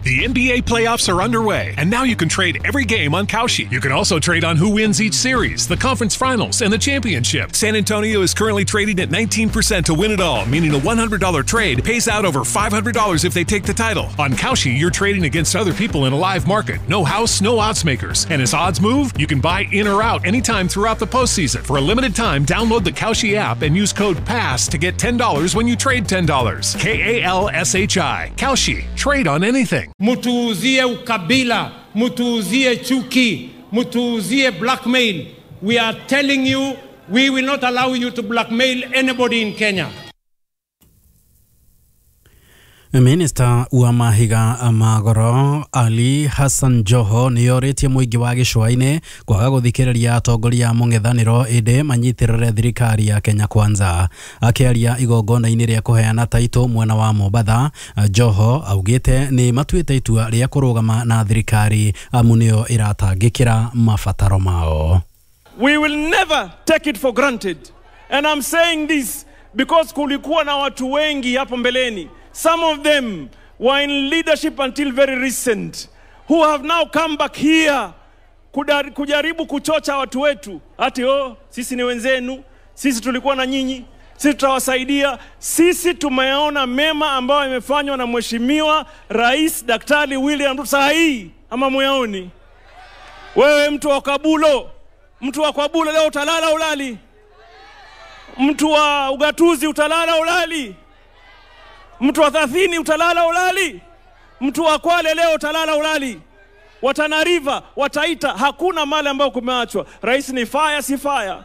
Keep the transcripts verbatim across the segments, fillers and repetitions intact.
The N B A playoffs are underway, and now you can trade every game on Kalshi. You can also trade on who wins each series, the conference finals, and the championship. San Antonio is currently trading at nineteen percent to win it all, meaning a one hundred dollar trade pays out over five hundred dollars if they take the title. On Kalshi, you're trading against other people in a live market. No house, no odds makers. And as odds move, you can buy in or out anytime throughout the postseason. For a limited time, download the Kalshi app and use code PASS to get ten dollars when you trade ten dollars. K A L S H I. Kalshi. Trade on anything. Mutuuzie ukabila, mutuuzie chuki, mutuuzie blackmail. We are telling you, we will not allow you to blackmail anybody in Kenya. Minista wa mahiga magoro Ali Hassan Joho nĩorĩtie mũingĩ wa gĩcũa-inĩ kwaga gũthikĩrĩria atongoria a mũng'ethanĩro ĩndĩ manyitirĩre thirikari ya Kenya Kwanza. Akĩaria igongona-inĩ rĩa kũheana taitũ mwena wa Mombatha, Joho augĩte nĩ matuĩte itua rĩa kũrũgama na thirikari amu nĩyo ĩratangĩkĩra mabataro mao. We will never take it for granted. And I'm saying this because kulikuwa na watu wengi hapo mbeleni. Some of them were in leadership until very recent, who have now come back here kujaribu kuchocha watu wetu. Ati oh, sisi ni wenzenu, sisi tulikuwa na nyinyi, sisi tutawasaidia. Sisi tumeona mema ambayo imefanywa na Mheshimiwa Rais Daktari William Ruto saa hii, ama muyaoni? Wewe mtu wa Kabulo, mtu wa Kabulo leo utalala ulali? Mtu wa ugatuzi utalala ulali? Mtu wa Thathini utalala ulali? Mtu wa Kwale leo utalala ulali? Wa Tana River, wa Taita, hakuna mali ambayo kumeachwa. Rais ni fire, si fire.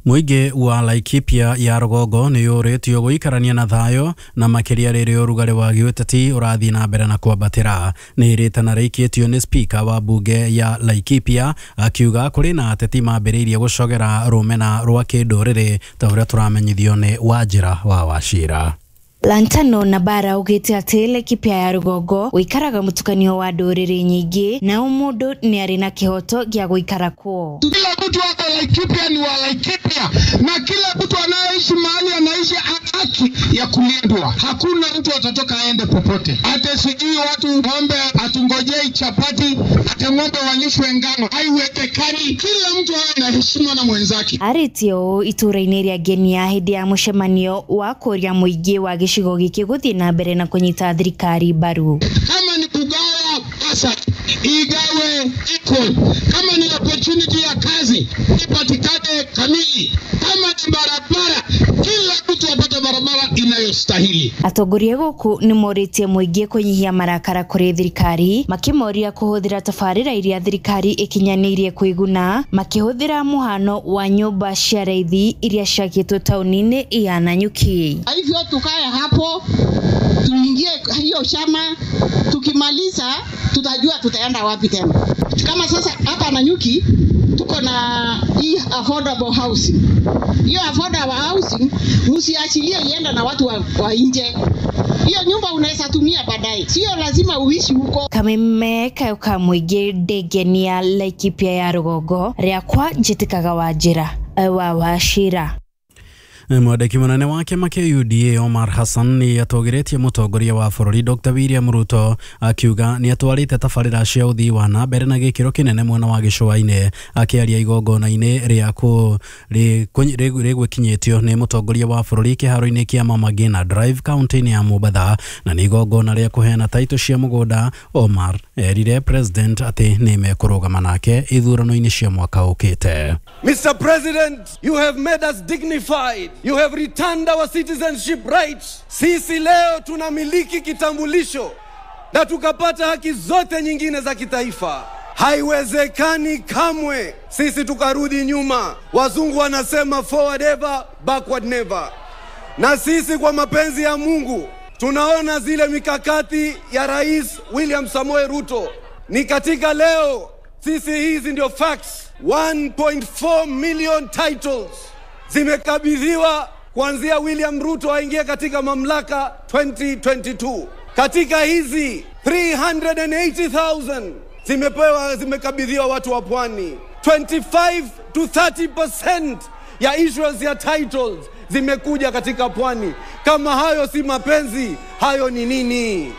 Mũingĩ wa Laikipia ya rũgongo nĩ yũrĩtio gũikarania na thayũ na makĩria rĩrĩa ũrugarĩ wa gĩũteti ũrathiĩ na mbere na kwambatĩra. Nĩ rĩtana rĩikĩtio nĩ spika wa mbunge ya Laikipia akiuga kũrĩ na ateti mambĩrĩirie gũcogera rũmena rwa kĩndũrĩrĩ ta ũrĩa tũramenyithio nĩ Wanjĩra wa Wachira. Lantano na bara ugite ati Laikipia ya rugongo wikaraga mutukanio wa nduriri nyingi na umundu ni ari na kihoto gya guikara kuo. Kila mtu wako Laikipia ni wa Laikipia, na kila mtu anayeishi mahali anaishi haki ya kulindwa. Hakuna mtu atatoka aende popote. Ate sijui watu ng'ombe atungojei chapati, ate ng'ombe walishwe ngano, haiwezekani. Kila mtu awe na heshima na mwenzake. Aritio ituraini ria Ngenia hindi ya mucemanio wa kuria muingi wa gĩcigo gĩkĩ gũthiĩ na mbere na kũnyita thirikari mbaru. Kama ni kugawa pesa igawe equal, kama ni opportunity ya kazi ipatikane kamili, kama ni barabara kila mtu apate barabara inayostahili. Atongoria gũkũ nĩ morĩtie mũingĩ kũnyihia marakara kũrĩ thirikari, makĩmoria kũhũthĩra tabarĩra iria thirikari ĩkinyanĩirie kwĩguna, makĩhũthĩra mũhano wa nyũmba cia raithi iria ciakĩtwo taũni-inĩ ya Nanyuki. Hivyo tukae hapo tuingie hiyo chama, tukimaliza tutajua tutaenda wapi tena. Kama sasa hapa Nanyuki tuko na hii affordable housing. Hiyo affordable housing msiachilie ienda na watu wa, wa nje. Hiyo nyumba unaweza tumia baadaye, sio lazima uishi huko. Kameme kayoka mwige Ndegenia Laikipia ya rugongo riakwa njitikaga Wanjĩra wa Wachira. Mwandĩki mũnene wa kĩama kĩa U D A Omar Hassan nĩ atũgĩrĩtie mũtongoria wa bũrũri Doctor William Ruto akiuga nĩ atwarĩte tabarĩra cia ũthii wa na mbere na gĩkĩro kĩnene mwena wa gĩcũa-inĩ. Akĩaria igongona-inĩ rĩa rĩgwĩkinyĩtio nĩ mũtongoria wa bũrũri kĩharo-inĩ kĩa Mama Ngina Drive kaunti-inĩ ya Mombatha na nĩ igongona rĩa kũheana taitũ cia mũgũnda, Omar erire president atĩ nĩ mekũrũgama nake ithurano-inĩ cia mwaka ũkĩte. Mister President, you have made us dignified. You have returned our citizenship rights. Sisi leo tunamiliki kitambulisho na tukapata haki zote nyingine za kitaifa. Haiwezekani kamwe sisi tukarudi nyuma. Wazungu wanasema forward ever, backward never. Na sisi kwa mapenzi ya Mungu tunaona zile mikakati ya Rais William Samoei Ruto. Ni katika leo sisi hizi ndio facts. one point four million titles zimekabidhiwa kuanzia William Ruto aingie katika mamlaka twenty twenty-two. Katika hizi three hundred eighty thousand zimepewa, zimekabidhiwa watu wa pwani. twenty-five to thirty percent ya issuance ya titles zimekuja katika pwani. Kama hayo si mapenzi, hayo ni nini?